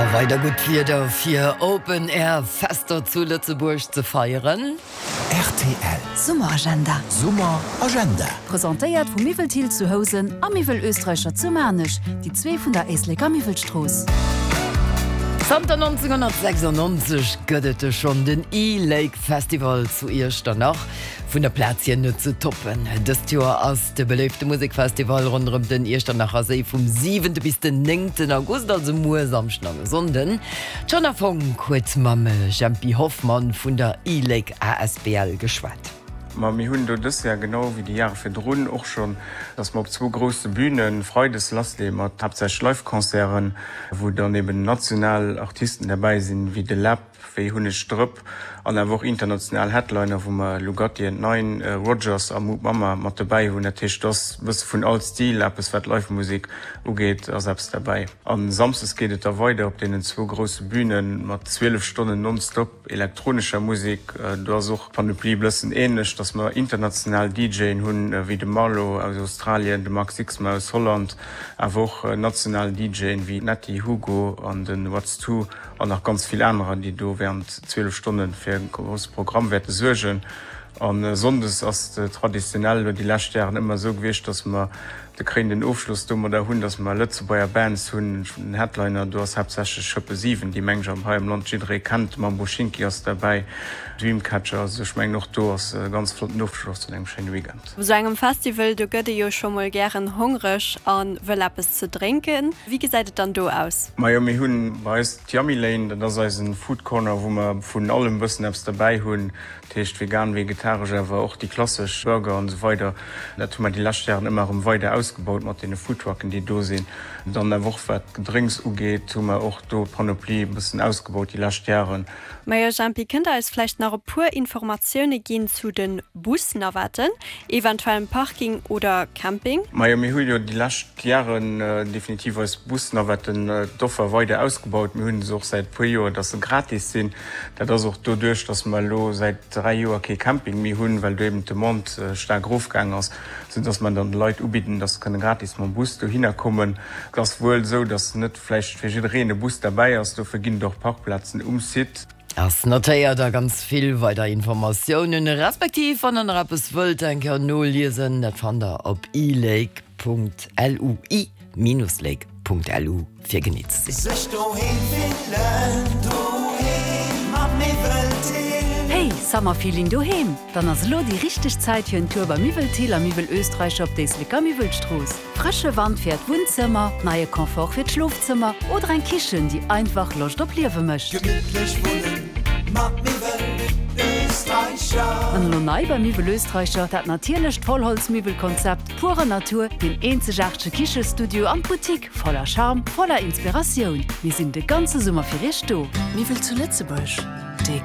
A weider gutt Wieder fir Open Air Fester zu Lëtzebuerg ze feieren. Rtl. Summeragenda. Summeragenda. Presentéiert vu Miwwel Thill zu Housen a Miwwel Österreicher zu Maarnech, déi zwee vun der Éisleker Miwwelstrooss. Zanter 1996 gëtt et de schonn den E-Lake Festival zu Iechternach. Vun der Plaz hier net ze toppen. Dëst Joer ass de beléifte Musekfestival ronderëm den Iechternacher Séi vum siwente bis den néngten August, also muer Samschden an e Sonnden. D'Jeanne Fonck huet mam Jempy Hoffmann vun der E-Lake asbl geschwat. Ma mir hunn do dës Jahr, genau wéi déi Jahre virdrun och schonn, dass mer op zwou grousse Bühne freides lassleeë mat haaptsächlech Live-Concerten, wou dann eben national Artisten derbäi sinn, wéi de Läb, wéi Hunneg Drëpp an awer och international Headliner, wou mer Lugatti and Nine, Rodgers a Moop Mama mat dobäi hunn. Dat heescht, et ass e bësse vun all Stil eppes, wat Live Musek ugeet, ass eppes derbäi. A samsdes geet et da weider op deenen zwou grousse Büne mat 12 Stonnen nonstop elektronescher Musek. Do ass och d'Panoplie e blëssen änlech, dass mer international DJen hunn, wéi de Marlo aus Australien, de Mark Sixma aus Holland, awer och national DJen wéi d'Netty Hugo an de What's Two. An nach ganz vill anerer, déi do während 12 Stonne fir e grousse Programm wäerte suergen. A sonndes ass et traditionell elo déi lescht Jaren ëmmer esou gewiescht, dass mer de kréinenden Ofschloss domadder hunn, dass mer Lëtzebuerger Bands hunn. Den Headliner do ass haaptsächlech Schëppe 7, déi meng ech hei am Land jidderee kennt. Mambo Schinki ass derbäi, Dreamcatcher. Also ech mengen och do ass e ganz flotten Ofschloss vun engem schéine Weekend. Op esou engem Festival, do gëtt ee jo scho mol gären hongreg a wëll eppes ze drénken. Wéi gesäit et dann do aus? Majo, mir hunn bei eis d'Yummy Lane, dat ass eisen Food Corner, wou mer vun allem e bëssen eppes derbäi hunn. Dat heescht vegan, vegetaresch, awer och déi klassesch Burger an esou weider. Dat hu mer déi lescht Jaren ëmmer erëm weider ausgebaut mat deene Foodtrucken, déi do sinn. Dann awer och wat d'Gedrénks ugeet, hu mer och do d'Panoplie e bëssen ausgebaut déi lescht Jaren. Majo Jempi, kënnt der eis vläicht nach e puer Informatioune ginn zu de Busnavetten, eventuellem Parking oder Camping? Majo, mir hu jo déi lescht Jaren definitiv eis Busnavetten, d'Offer weider ausgebaut. Mir hunn se och säit e puer Joer, dass se gratis sinn. Dat ass och doduerch, dass mer elo säit 3 Joer kee Camping méi hunn, well do eben d'Demande staark erofgaang ass, sou dass mer dann de Leit ubidden, dass se kënne gratis mam Bus dohinner kommen. Et ass wuel esou, dass net Vläicht fir jiddereen e Bus derbäi ass, dofir ginn et och Parkplazen um Site. Ass notéiert a ganz vill weider Informatiounen, respektiv wann der nach eppes wëllt eng Kéier noliesen, dat fannt der op elake.lu, i-lake.lu fir genee ze sinn. Sech doheem fillen, doheem mam Miwwel-Thill. Hey, Summerfeeling doheem? Dann ass elo déi richteg Zäit fir en Tour bei Miwwel Thill a Miwwel Österreicher op d'Éisleker Miwwelstrooss. Frësche Wand fir Äert Wunnzëmmer, neie Confort fir d'Schlofzëmmer oder eng Kichen, déi einfach Loscht op Liewe mécht. Gemittlech wunnen mat Miwwel Österreicher. An elo nei bei Miwwel Österreicher, dat natierlecht Vollholzmiwwelkonzept, pure Natur, deen eenzegaartege Kichestudio an d'Boutique voller Charme, voller Inspiratioun. Mir sinn de ganze Summer fir Iech do. Miwwel zu Lëtzebuerg, dee.